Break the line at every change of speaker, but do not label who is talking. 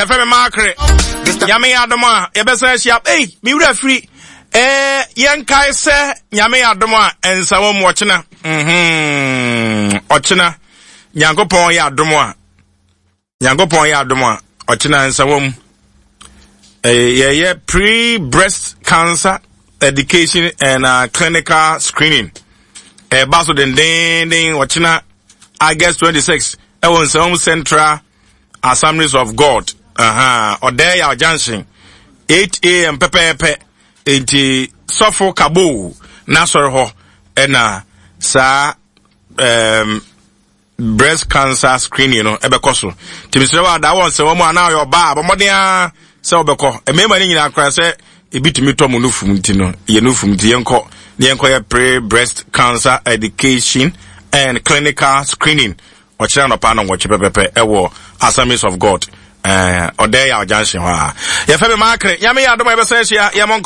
Yɛfrɛ me Maakere. Nyame yɛ adom a yɛbɛsan ahyia. Ei, me wura firi. Eh, yɛnkae sɛ Nyame yɛ adom a ɛnsa wɔ mu ɔkyena. Mhm. Ɔkyena. Nyankopɔn yɛ adom a. Nyankopɔn yɛ adom a ɔkyena nsa wɔ mu. Eh, yɛyɛ pre-breast cancer education and uh, clinical screening. Ɛba so dendenden ɔkyena August 26 ɛwɔ Nsawam Central Assemblies of God ahaa ɔdɛɛ yaw junction 8 am pɛpɛɛpɛ nti sɔfo kabo n'asɔre hɔ ɛna saa um, breast cancer screening no ɛbɛkɔ so nti mesrɛ wɔ adaa wɔ nsɛwɔ mu anaa ɔyɛ ɔbaa bɔ mmɔden ara sɛ wobɛkɔ mmarima no nyinaa koraa sɛ ebi tumi tɔ mu no fum nti no yɛ no fum nti yɛnkɔ na yɛnkɔ yɛ pre breast cancer education and clinical screening Ɔkyena anɔpa nnɔnwɔtwe pɛpɛpɛ ɛwɔ Assemblies of God, eh, Ɔdɛɛ Yaw Junction hɔ a. Yɛfɛ me Maakere, Nyame yɛ adom a yɛbɛsan ahyia, yɛmmɔ nkɔmmɔ.